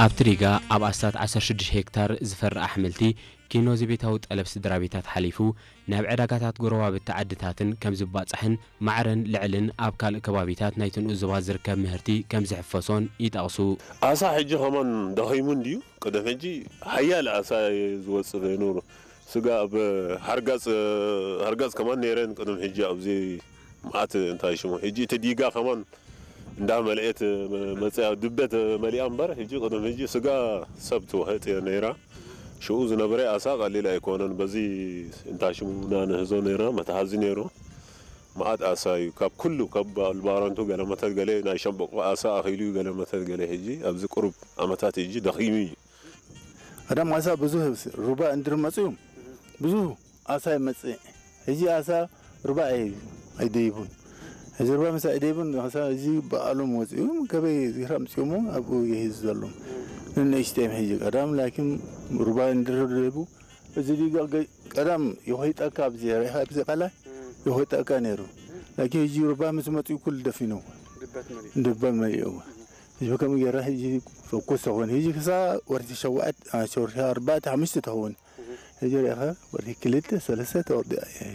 ኣብቲ ዲጋ ኣብ ኣስታት ዓሰርተ ሽዱሽተ ሄክታር ዝፈሪ ኣሕምልቲ ኪኖ ዘቤታዊ ጠለብ ስድራ ቤታት ሓሊፉ ናብ ዕዳጋታት ጎረባብቲ ዓድታትን ከም ዝባጻሕን ማዕረን ልዕልን ኣብ ካልእ ከባቢታት ናይቲ ንኡስ ዞባ ዝርከብ ምህርቲ ከም ዝሕፈሶን ይጠቕሱ። ኣሳ ሕጂ ከማን ደኺሙ እንድዩ። ቅድም ሕጂ ሓያል ኣሳ እዩ ዝወጽእ ዘይኑሩ። ስጋ ኣብ ሓርጋጽ፣ ሓርጋጽ ከማን ነይረን ቅድም ሕጂ ኣብዚ መዓት እንታይ ሽሙ። ሕጂ እቲ ዲጋ ከማን እንዳ መልኤት መ-፣ መጽያ ድበት መሊኣ እምበር፣ ሕጂ ቅድም ሕጂ ስጋ ሰብ ትውሕጥ እያ ነይራ። ሽኡ ዝነበረ ኣሳ ቀሊል ኣይኮነን። በዚ እንታይ ሽሙ እና ንህዞ ነይራ፣ መትሓዚ ነይሩ። መዓት ኣሳ እዩ። ካብ ኩሉ፣ ካብ ባረንቱ ገለ መተት ገለ ናይ ሸምበቆ ኣሳ ኣኺሉ እዩ ገለ መተት ገለ። ሕጂ ኣብዚ ቁሩብ ዓመታት ሕጂ ደኺሙ እዩ። ቀደም ኣሳ ብዙህ ሩባ እንድር መጽኡ ብዙህ ኣሳ ይመጽእ። ሕጂ ኣሳ ሩባ ኣይ-፣ ኣይደይቡን። ሕዚ ሩባ ምስ ኣይደይቡን ኣሳ እዚ በኣሎም ወጽኡ ከበይ ዚራ ምጽኡሞ ኣብኡ ይህዝ ዘሎም። ንንእሽተይም ሕጂ ቀዳም ላኪን ሩባ እንድር ደይቡ እዚ ዲጋ ገ-፣ ቀዳም ይኾይጠካ ኣብዚ ሬኻ ኣብዚ ቃላይ ይኾይጠካ ነይሩ። ላኪን ሕጂ ሩባ ምስ መጽኡ ኩሉ ደፊንዎ። ድበት መሊኡ። ድበት መሊእዎ። ሕጂ ከም ገይራ ሕጂ ፈኩስ ተኾን። ሕጂ ክሳ ወርቲ ሸውዓት፣ አ፣ ሸውርቲ ኣርባዕተ፣ ሓሙሽተ ተኸውን። ሕጂ ርኢኻ ወርቲ ክልተ፣ ሰለስተ ተወርዲ እያ።